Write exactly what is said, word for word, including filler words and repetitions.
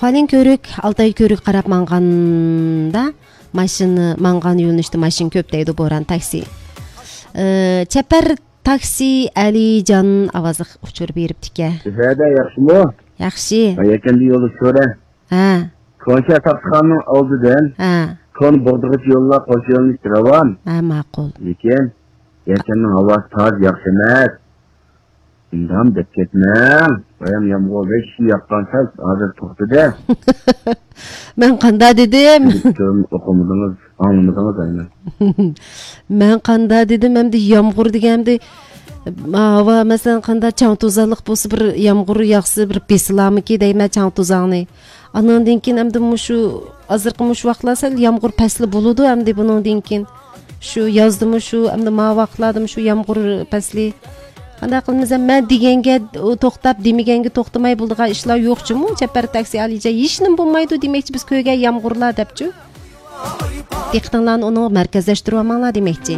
Калин көрүк, алтай көрүк карап манганда машина манган юнушту машин көп дейди Боран такси. Чапар такси Алижан авазы учур бериптике. Сәдә яхшымы? Яхшы. Аякенди yolu söyle. Ha. Konşa tapkanın aldıdan. Ha. Kon bordug'uch yo'llar qo'shilmish ravan. Ha, ma'qul. Lekin ertanning havasi toz yaxshi emas. Indam deb ketmang. Bayam yomg'ir besh yoqqancha hozir to'xtadi. Men qanda dedim? O'qimadingiz, anglamadingiz aynan. Men qanda dedim, endi yomg'ir deganimda hava masalan qanda chang to'zaliq bo'lsa bir yomg'ir yog'sa bir besilamiki deyman chang to'zaqni. Anandan keyin endi mushu hozirgi mush vaqtlar sal yomg'ir pasli bo'ladi, endi bundan keyin shu yozdimi shu endi ma vaqtladim shu yomg'ir pasli. Qanday qilmasa men deganga to'xtab demaganga to'xtamay bo'ldigan ishlar yo'qchimu? Chapar taksi alija hech nima bo'lmaydi demakchi biz ko'ygan yomg'irlar debchi. Diqqatlarni uni markazlashtirib olmanglar demakchi.